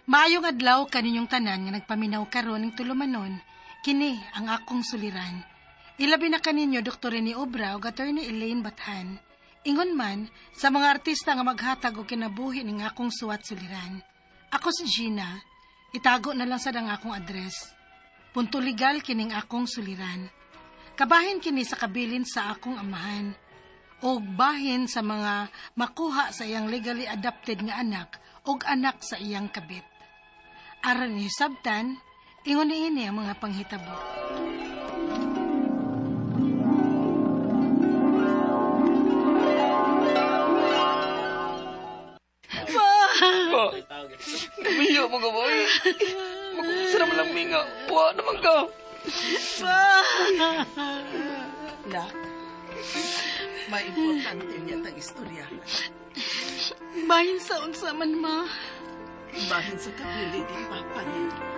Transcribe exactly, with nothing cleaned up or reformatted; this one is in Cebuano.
Maayong adlaw kaninyong tanan nga nagpaminaw karon ning tulumanon, kini ang akong suliran. Ilabi na kaninyo Doktor Rene Obra ug Attorney Elaine Bathan. Ingon man sa mga artista nga maghatag og kinabuhi ning akong suwat suliran. Ako si Gina, itago na lang sad ang akong address. Punto legal kining akong suliran. Kabahin kini sa kabilin sa akong amahan og bahin sa mga makuha sa iyang legally adopted nga anak og anak sa iyang kabit. Aron ni sabtan, ingon niini ang mga panghitabo. Ma! Miyo mo ka, boy. Magkusa naman lang minga. Buha naman ka. Ma! Nak, maimportante niya tang istorya. Bahin sa unsa man, ma. Bahin sa kabili ni Papa niya.